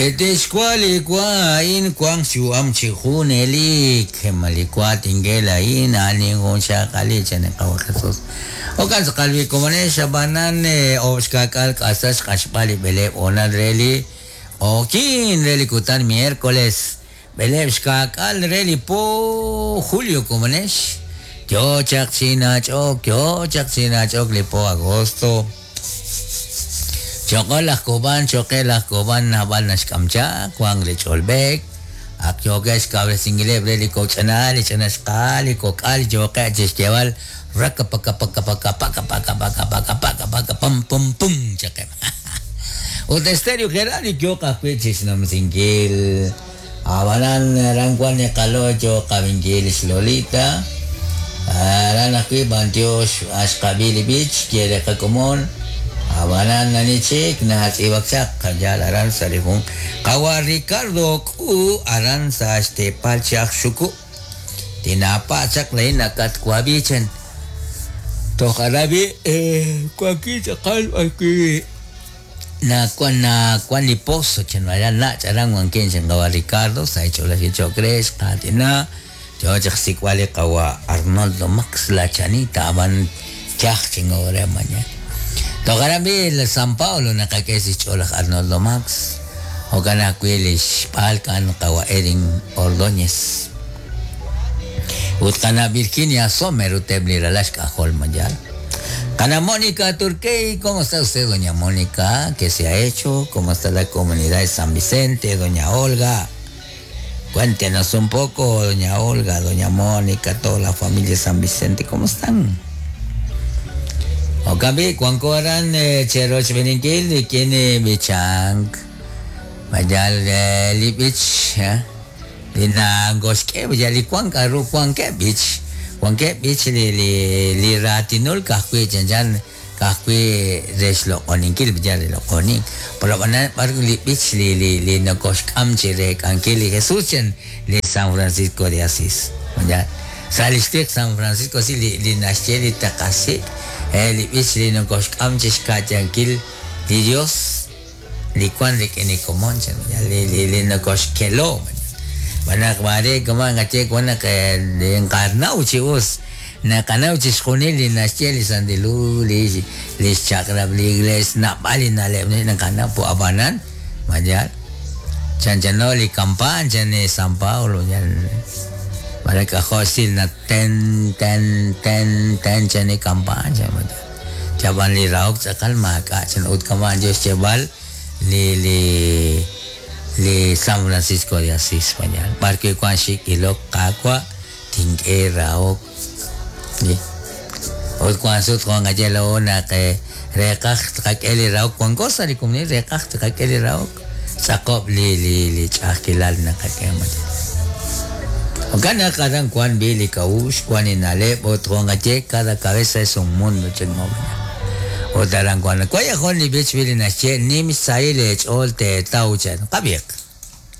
Tixwa' li wa a'in wanq xyu'am chi junelik. Ma li wa tink'e laa'in a'an linjunxaqalil, chan li Qaawa' Jesus. Jo'kan tz'aqal wi komonex, ab'anan oob' xka'k'aal k'asal xq'axb'al li b'eleeb' hoonal re li q'oqyink re li kutan miércoles, b'eleeb' xka'k'aal re li po julio komonex. Yo chaq chi nach'ok, yo chaq chi nach'ok li po agosto. Choqol laj Koban, choqe laj Koban naab'al naxk'am chaq, wank li ch'olb'ek, ak yookeb' xkawresinkileb' re li kok' ch'ina'al, li ch'ina xqa'al, li kok'al yooqeb' chi xyeeb'al rakapakapakapakapakapakapakapakapaka pum pum pum chaqeb'. Ut Estéreo Gerardo yooq ajwi' chi xnumsinkil. Ab'anan aran wank li qalo' yooq qab'inkil lix Lolita. Aran ajwi' b'antiox xqab'i li b'ich xye li qakomon. Ab'anan ani chik natz'iib'ak chaq yaal aran sa' li jun qawa' Ricardo K'u aran sa' xteepal chaj Xuku'. Tinaapa' chaq laa'in nakatwab'i chan. Toj aran b'i' wankin tz'aqal b'arwi' Nawan nawan li pozo chan aran nach' aran wankin chan qawa' Ricardo sa' xch'oolajil cho'q re xqaatina yo chaq xsik'b'al li qawa' Arnoldo Max la Chanita ab'an yaj chingo re mañana. Toj aran b'i' San Paolo naqak'e sa' xch'ool laj Arnoldo Max jo'kan ajwi' li xb'aalk a'an qawa' Edin Ordóñez ut qana' Virginia Sommer ut eb' li ralal xk'ajol ma yaal. Qana' Mónica Turquey, ¿cómo está usted, doña Mónica? ¿Qué se ha hecho? ¿Cómo está la comunidad de San Vicente, doña Olga? Cuéntenos un poco, doña Olga, doña Mónica, toda la familia de San Vicente, ¿cómo están? Jo'kan b'i', wanko aran cherochb'eeninkil rik'in li b'ichank. Ma yaal li b'ich li nakoxk'e yal li wank k'a'ru wankeb' b'ich, wankeb' b'ich li li li raatinul ka'ajwi' chanchan ka'ajwi' re xloq'oninkil yal re loq'onink. Pero ab'anan b'ar li b'ich li li li nokoxk'am chi reek'ankil li Jesus chan li San Francisco de Asís. Yaal sa' li xtiq San Francisco Asís li li naxye li taqasik' li b'ich li nokoxk'am chi xka'yankil li Dios li wank rik'in li komon chan li li li nokoxkelo xb'aan naq maare kama' naqaye wan naq nqanaw chi us naqanaw chixjunil li naxye li Santil Hu li li xchaq'rab' li Iglees naab'al li na'leb' naqanaw po ab'anan ma yaal chanchano li kampaan chan li San Paolo yal mare k'ajo' xsil na ten ten ten ten chan li kampaan chan ma yaal. Chab'an li rahok tz'aqal maak'a' chan ut kama'an yo xyeeb'al li li li San Francisco de Asís Pañal b'ar wi' wank xik' ilok Qaawa' tink'e rahok li ut wank sut jo' naqaye laa'o naq reeqaj tqak'e li rahok wanko sa' li komonil reeqaj tqak'e li rahok tz'aqob' li li li ch'a'ajkilal naqak'e Jo'kan naq aran wank b'i' li k'a'uxl, wank li na'leb' ut jo' naqaye cada cabeza es un mundo chan Ut aran wank. Waya jun li b'ich b'i' li naxye nim xsahil eech'ool teetaw chan. Qab'iiq.